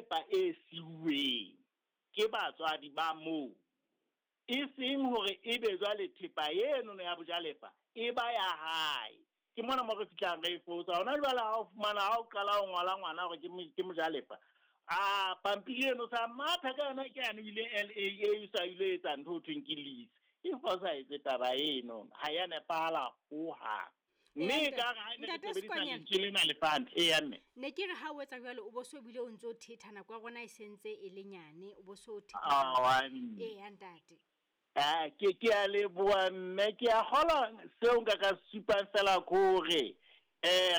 thepa e siuweng ke batswadi ba moo, e seng hore ebe jwale thepa enono ya bojalefa e ba ya hae. Ke mona mo re fihlang re e fosa. Hona jwale ha o fumana ha o qala ho ngola ngwana hore ke mojalefa, a pampiri eno sa matha ka yona ke yane o ile LAA o sa ile etsa ntho ho thweng ke lease. E fosahetse taba eno, ha ya nepahala hohang. Mme e ka re ha ne re sebedisa lentswe lena lefa, eya mme. Ne ke re ha o etsa jwalo o bo so bile o ntso thetha, nako ya rona e sentse e le nyane, o bo so thetha. Awa mme. Eya ntate. Ke a leboha mme, ke a kgolwa seo nka ka supang fela ke hore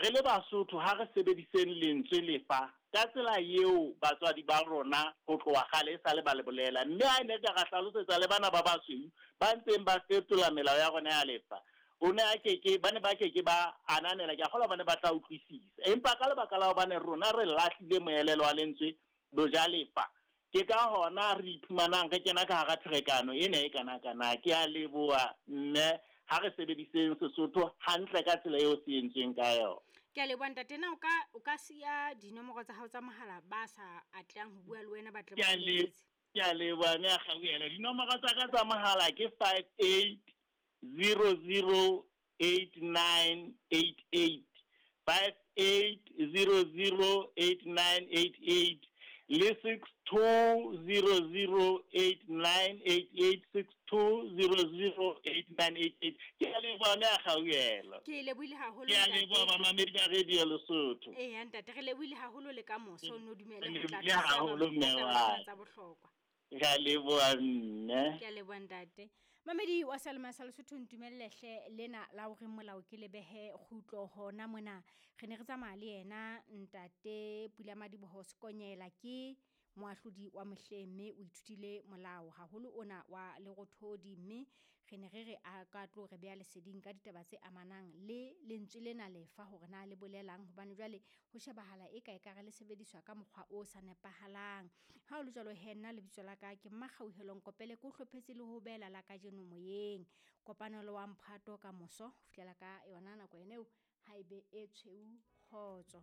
re le Basotho ha re sebediseng lentswe lefa ka tsela eo batswadi ba rona ho tloha kgale e sale ba le bolela. Mme ha ne ka ra hlalosetsa le bana ba basweu ba ntseng ba fetola melao ya rona ya lefa, o ne a keke, ba ne ba keke ba ananela, ke a kgolwa ba ne ba tla utlwisisa. Empa ka lebaka la hobane rona re lahlile moelelo wa lentswe bojalefa, ke ka hona re iphumanang re kena ka hara pherekano ena e kana-kana. Ke a leboha mme, ha re sebediseng Sesotho hantle ka tsela eo se entsweng ka yona. Ke a leboha ntate. Na o ka siya dinomoro tsa hao tsa mohala ba sa atlehang ho bua le wena ba tle ba leletse? Ke a leboha mme a kgauhela. Dinomoro tsa ka tsa mohala ke 58008988, 58008988 le 62008988, 62008988. Ke a leboha mme a kgauhela. Ke lebohile haholo. Ke a leboha bamamedi ba Radio Lesotho. Eya ntate, re lebohile haholo le ka moso, no dumele Re ho tla lebohile haholo mme wa. tsa bohlokwa. Ke a leboha mme. Ke a leboha ntate. Mamedi wa Salema sa Lesotho, ntumelle hle lena la hore molao ke lebehe kgutlo hona mona. Re ne re tsamaya le yena ntate Pulamadiboho Sekonyela, ke moahlodi wa mohleng mme o ithutile molao haholo ona wa Lerothodi, mme re ne re re a ka tlo re beha leseding ka ditaba tse amanang le lentswe lena lefa hore na le bolelang, hobane jwale ho shebahala e ka ekare le sebediswa ka mokgwa o sa nepahalang. Ha o le jwalo he, nna lebitso la ka ke Mmakgauhelo Nkopele, ke o hlophetse le ho beela la kajeno moyeng. Kopanelo wa mphato ka moso ho fihlela ka yona nako ena eo, ha ebe e tshweu kgotso.